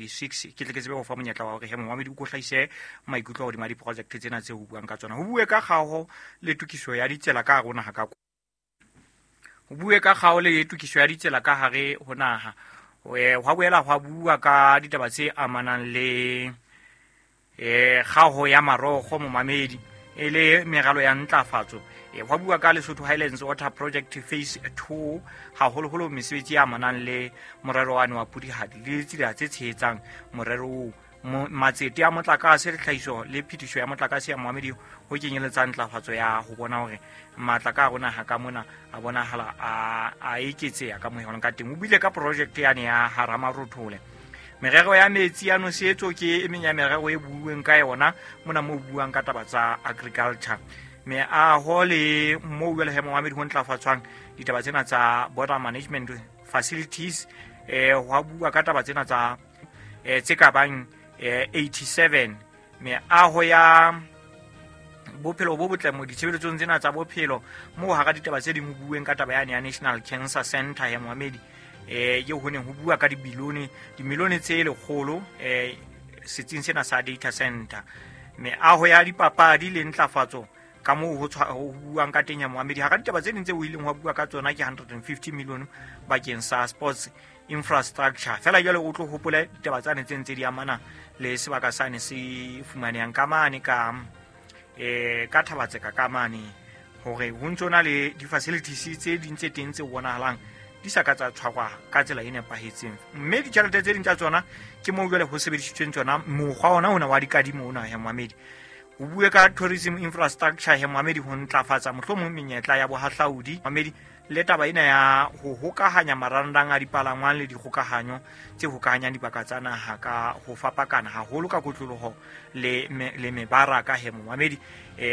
6. Ke tle ke tsebe ho fa monyetla wa hore he momamedi o ko hlahise maikutlo hodima diprojekte tsena tse ho buang ka tsona. Ho bue ka kgaho le tokiso ya ditsela ka hare ho naha ka ho bue ka kgaho le tokiso ya ditsela ka hare ho naha. Hwa boela hwa bua ka ditaba tse amanang le kgaho ya marokgo momamedi e le meralo ya ntlafatso. Hwa bua ka Lesotho Highlands Water Project Phase 2, haholoholo mesebetsi e amanang le morero wane wa Pudihadi le tsela tse tshehetsang morero oo. Matsete a motlakase le tlhahiso le phetiso ya motlakase ya moamedi ho kenyeletsang ntlafatso ya ho bona hore matla ka rona ha ka mona a bonahala a eketseha ka mohelong ka teng. O buile ka project yane ya Haramarothole. Merero ya metsi ya nosetso ke e meng ya merero e buuweng ka yona mona mo buang ka taba tsa agriculture. Meaho le moo jwale he moamedi ho ntlafatswang ditaba tsena tsa border management facilities, hwa bua ka taba tsena tsa tse ka bang 87. Meaho ya bophelo bo botle mo ditshebeletsong tsena tsa bophelo moo hara ditaba tse ding ho bueng ka taba yane ya National Cancer Center ya moamedi, eo ho neng ho bua ka dibilione, dimilione tse lekgolo, setsing sena sa data center. Meaho ya dipapadi le ntlafatso ka moo ho buang ka teng ya moamedi. Hara ditaba tse ding tse o ileng wa bua ka tsona ke 150 million bakeng sa sports infrastructure. Fela jwale o tlo hopole ditaba tsane tse ntse di amana le sebaka sane se fumanehang ka mane ka ka Thabatseka ka mane, hore ho ntso na le di-facilities tse ding tse teng tse bonahalang di sa ka tsa tshwarwa ka tsela e nepahetseng, mme ditjhelete tse ding tsa tsona ke moo jwale ho sebedisitsweng tsona mokgwa ona ona wa dikadimo ona ya moamedi. Ho bue ka tourism infrastructure he moamedi, ho ntlafatsa mohlomong menyetla ya bohahlaudi moamedi, le taba ena ya ho hokahanya marangrang a dipalangwang le dikgokahanyo tse hokahanyang dibaka tsa naha ka ho fapakana haholo ka kotloloho le mebaraka he moamedi,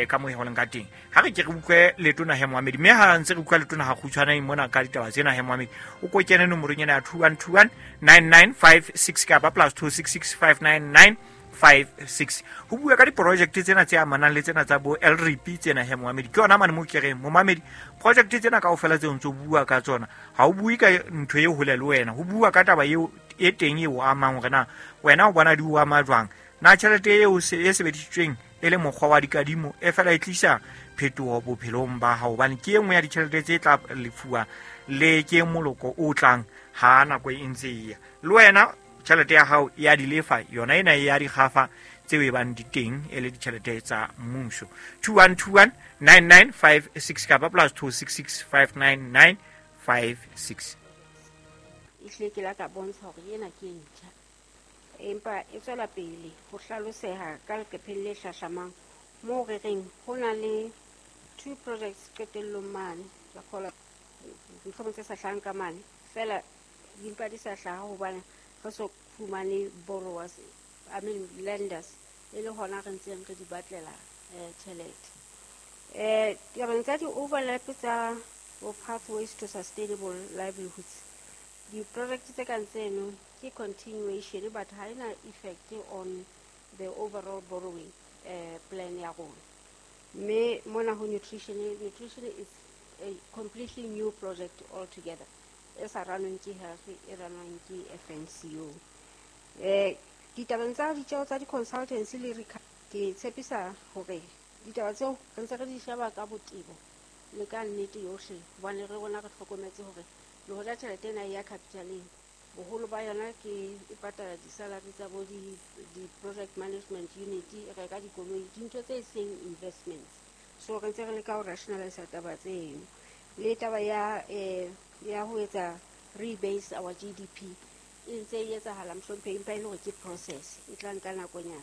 ka moo ho leng ka teng. Ha re ke re utlwe letona he moamedi, mme ha ntse re utlwa letona ha kgutshwane mona ka ditaba tsena he moamedi, o ko kene nomorong ena ya 2121 9956 kapa plus 266 599 56. Ho bua ka diprojekte tsena tse amanang le tsena tsa bo LRP tsena he moamedi, ke yona mane mo ke reng momamedi, project tsena kaofela tseo ntso bua ka tsona ha o bue ka ntho e hole le wena, ho bua ka taba eo e teng e o amang hore na wena o bona di o ama jwang, na tjhelete eo e sebedisitsweng e le mokgwa wa dikadimo e fela e tlisa phetoho bophelong ba hao, hobane ke e nngwe ya ditjhelete tse tla lefuwa le ke moloko o tlang ha nako e ntse e ya. Le wena tjhelete ya hao ya di lefa yona ena ya dikgafa tseo e bang di teng e le ditjhelete tsa mmuso. 2121 9956 kapa plus 266 599 56. Ehlile ke la ka bontsha hore ena ke e ntjha, empa e tswela pele ho hlaloseha ka leqepheng le hlahlamang moo re reng ho na le 2 projects qetellong mane. Ke kgolwa mohlomong tse sa hlahang ka mane fela di mpa di sa hlaha hobane re so fumane borrowers, I mean lenders, e le hona re ntseng re di batlela tjhelete. Tabeng tsa di-overlap tsa bo pathways to sustainable livelihoods, di-project tse kang tseno ke continuation, but ha ena effect on the overall borrowing plan ya rona. Mme mona ho nutrition, nutrition is a completely new project altogether, e sa ranweng ke health, e ranwang ke FNCO. Ditabeng tsa ditjeho tsa di-consultancy le ke tshepisa hore ditaba tseo re ntse re di sheba ka botebo le ka nnete yohle, hobane re rona re hlokometse hore le hoja tjhelete ena e ya capitaleng, boholo ba yona ke e patala di-salary tsa bo di-project management unit, e reka dikoloi, dintho tse seng investments. So re ntse re leka ho rationalise taba tseno. Le taba ya ho etsa rebase our GDP e ntse e etsahala mohlomphehi, empa e le hore ke process e tla nka nakonyana,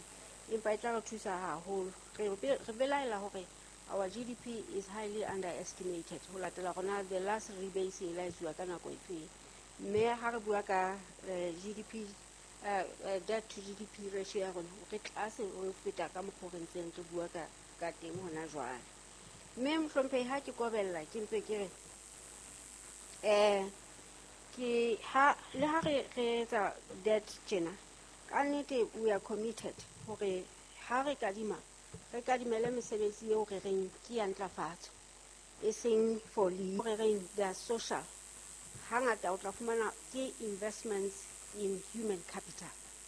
empa e tla re thusa haholo. Re belaela hore our GDP is highly underestimated ho latela rona the last rebase e la etsuwa ka nako efeng. Mme ha re bua ka GDP, debt to GDP ratio ya rona, re tlase ho feta ka mokgwa o re ntseng re bua ka teng hona jwale. Mme mohlomphehi, ha ke kobella ke mpe ke re, ke ha le ha re etsa debt tjena, ka nnete we are committed hore ha re kadima, re kadimele mesebetsi eo re reng ke ya ntlafatso, e seng for re reng they are social. Hangata o tla fumana ke investments in human capital.